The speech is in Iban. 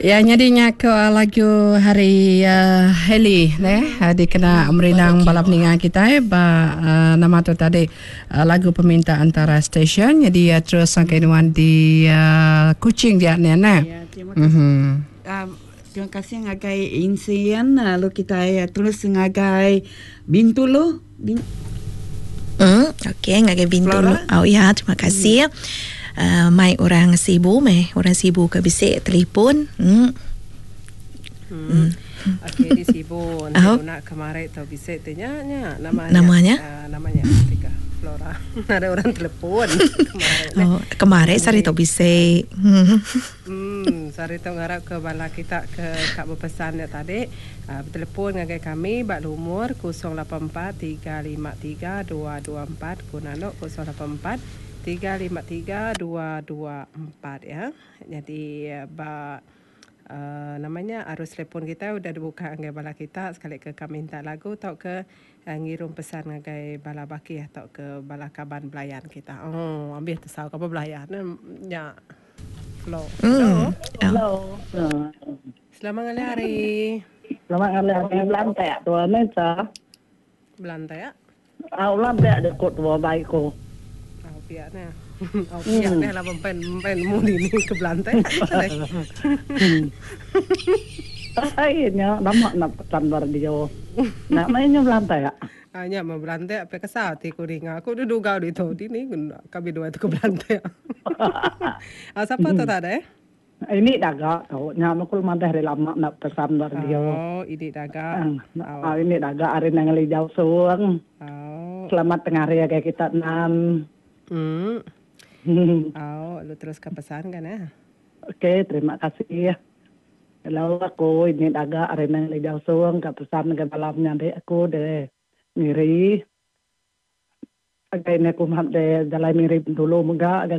Ya nyadi nya ko lagu hari uh, Hailey neh uh, dikena merindang bala peninga kitai ba uh, nama tu tadi uh, lagu peminta antara stesen jadi uh, terus sangkai nuan di uh, Kuching dia neh neh. Ya, terima kasih. Mm-hmm. Uh, terima kasih ngagai Insian lalu kitai terus ngagai Bintulu. Bin Hmm, okey ngagai Bintulu. Oh ya, terima kasih. Hmm. Uh, mai orang Sibu meh, orang Sibu ke bisi telefon. Hmm. Hmm. hmm. Okey di Sibu nanti oh. nak kemari tu bisi tu nya nya namanya. Namanya? Uh, namanya Tika Flora. Ada orang telefon kemari. Oh, kemari sari tu bisi. Hmm. Hmm, sari tu ngarap ke bala kita ke ka bepesan nya tadi. Betelefon ngagai kami ba lumur 084 353 224 ku nanu 084 353 224 ya. Nyadi ba uhh nama nya arus telefon kitai udah dibuka ngagai bala kita sekali ke ka minta lagu tauka ngirum pesan ngagai bala bakih tauka bala kaban belayan kita. Ooh ambih tesau kaban belayan ne nya. Hello. Hello. Selamat ngalih hari. Selamat ngalih hari belantak tua ne sa. Belantak. Au belantak jaku tua bai ku. Au pia ne. Au pia ne laban pen pen nemu dini ke belantak. Ai nya lama nak pesan ba radio. Nak meh nya belantak. Ah nya meh belantak pia kesal ti ku ninga aku duduk gau ditu dini kami duai tu ke belantak. Ah sapa tu tadi? Ini daga tu. Nya meh ku madah ari lama enda pesan ba radio. Oh, ini daga. Oh, ini daga ari Nanga Lijau Sung. Oh. Selamat tengah hari agai kita enam. Hmm. Oh, lu terus ke pesan kan eh. Okey, terima kasih. Hello, aku ini daga ari Nanga Lijau Sung ka pesan ngagai bala menyadi aku de Miri. Agai ne ku de Jalai Miri Bintulu mega.